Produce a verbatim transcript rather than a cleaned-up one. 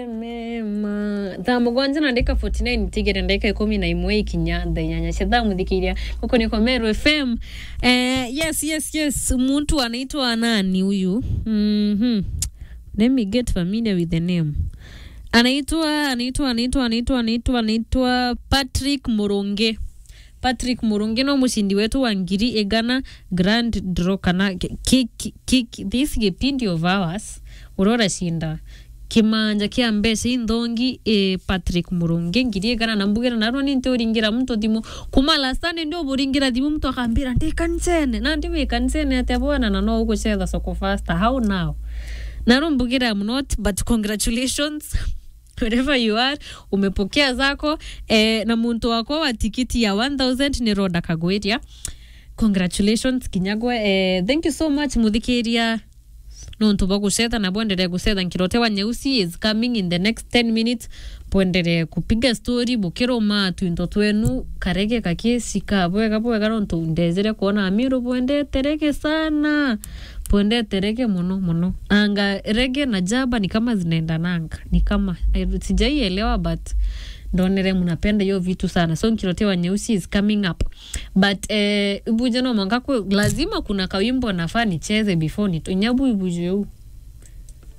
Mema. Thaa mugwanja na ndagika forty nine, tigere ndagika ikumi na imwe ikinya thaa inyanya cia thaa, muthikiria guku ni kwa Meru F M. Eh, yes, yes, yes. Muntu anaitwa nani huyu? Mhm. Let me get familiar with the name. Anaitwa, anaitwa, anaitwa, anaitwa, anaitwa, anaitwa Patrick Murungi. Patrick Murungi no mucindi wetu wa ngiri igana grand draw kana ki-, ki-, ki-, ki-, this gipindi of ours, uria uracinda kimanja kia mbeca inthongi, eh, Patrick Murungi, ngiri igana. Na mbugire narua ni ntiuringira muntu thimu. Kuma last time ndi uburingira thimu, muntu akambira, "Ndi kanisene." Nandi wi kanisene atia bwana, na no ugucetha soko faster? How now? Narua mbugire, "I'm not, but congratulations." Wherever you are, umepokea zako, eh, na muntu wakwa wa tikiti ya one thousand ni Rhoda Kagwiria. Congratulations kinya gwe. Eh, thank you so much, muthikiria, nontu bwa gucetha na bwenderee gucetha. Nkirote wa Nyeusi is coming in the next ten minutes. Bwenderee kupiga story, bukiruma twinto twenu, karege kakicika bwega bwega, nontu ndejere kuona Amiru bwendete rege sana. Bwendete rege muno muno. Anga rege na jaba ni kama zinaendananga. Ni kama, I, sijaielewa, but ndonere mnapenda hiyo vitu sana. So Nkirote wa Nyeusi is coming up. But, eh, ibuje no mwanka kwe, lazima kuna kawimbo nafaa nicheze before nito-, nyabu ibuje u.